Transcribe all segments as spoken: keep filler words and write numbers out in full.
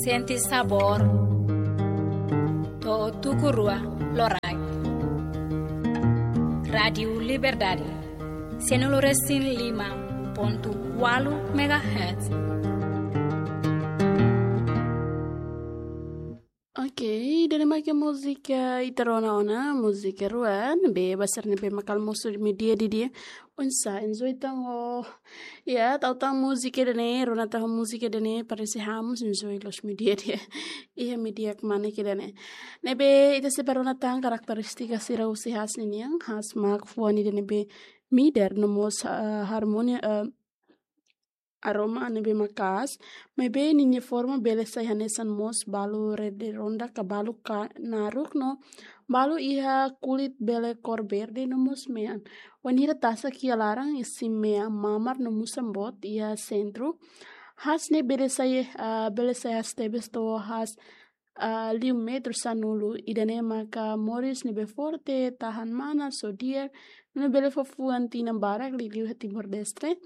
Sente sabór. To'o tuku rua loraik. Rádiu Liberdade. Sianulu resin lima pontu ualu megahertz. Ok, ida-ne'e mak múzika ita rona ona, múzika rua, ne'ebé ba sira ne'ebé mak almosu meiudia didi'ak. Oinsá, enjoy tan ho, ya, tau tan múzika ida-ne'e, rona tan ho múzika ida-ne'e, parese hamoos, enjoy loos meiudia didi'ak. Iha meiudia kmanek ida-ne'e. Ne'ebé, ita sei bá rona tan karakterístika sira husi haas ninian, haas mak fuan ida ne'ebé midar, no mós, ah, harmonia, ah, aroma ne'ebé maka'as, maibé ninia forma bele sai hanesan mós balu redonda ka balu ka naruk no balu iha kulit bele kór verde no mós mean. Wainhira tasak iha laran, isin mean mamar no musan boot iha sentru. Haas ne'e bele sai, ah, bele sai haas tebes to'o haas, ah, liu metru sanulu. Ida-ne'e maka moris ne'ebé forte, tahan manas, só di'ak, no bele fó fuan tinan barak liuliu iha Timor-Leste.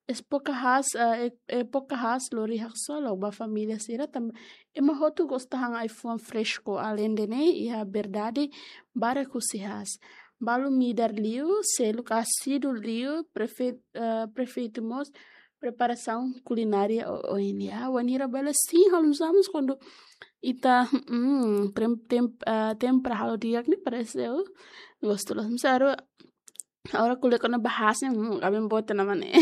Époka haas, ah, e-, époka haas lori haksolok ba família sira tanba ema hotu gosta han ai-fuan fresku. Aleinde ne'e, iha verdade barak husi haas. Balu midar liu, seluk asíduu liu, prefeito, ah, prefeito mós preparasaun kulinária o, oin, ya. Wainhira bele sin halo hamoos kuandu ita, mm, tem-, tem-, ah, tempera halo di'ak ne'e parese, uh, gostu loos. Mós agora, agora ko'alia kona-ba haas ne'e, mm, kaben boot ona mak ne'e.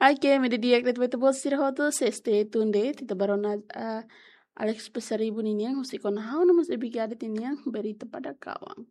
Ok, maibé di'ak de'it ba ita-boot sira hotu, sei stay tuned de'it, ita bá rona, ah, Alex Pasaribu ninian, husik ona ha'u no mós Ebi Gadet ninian, Berita Pada Kawan.